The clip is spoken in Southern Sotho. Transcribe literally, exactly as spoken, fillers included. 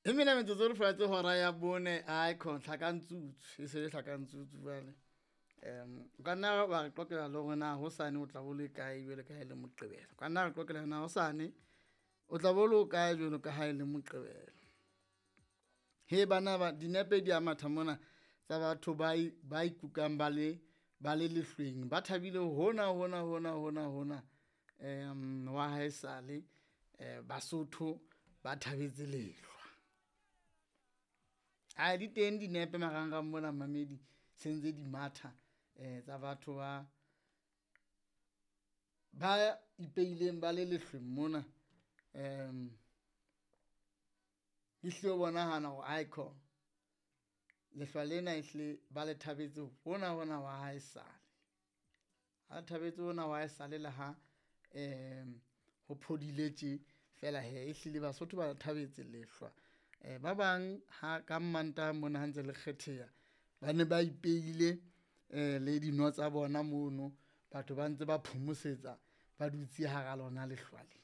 E mena metsotso re fela tse hora ya bone a khona tlhakantsutsu e se le tlhakantsutsu jwale. Um o ka nna wa re qoqela le hore na hosane o tla bo le kae jwalo ka ha e le Moqebelo. O ka nna re qoqela na hosane o tla bo le kae jwalo ka ha e le Moqebelo. He bana ba dinepe di a matha mona tsa batho ba ba ikukang ba le ba le lehlweng, ba thabile hona hona hona hona hona um wa haesale um Basotho ba thabetse lehlwa. Ae di teng dinepe marangrang mona mmamedi se ntse di matha tsa batho ba, ba ipeileng ba le lehlweng mona. Um ehlile ho bonahala hore aikhona lehlwa lena ehlile ba le thabetse hona hona wa haesale. Ba thabetse hona wa haesale le ha ho phodile tje fela hee ehlile Basotho ba thabetse lehlwa. Ba bang ha ka Mmantaha mona ha ntse le kgetheha, ba ne ba ipeile le dino tsa bona mono, batho ba ntse ba phomosetsa, ba dutse hara lona lehlwa le.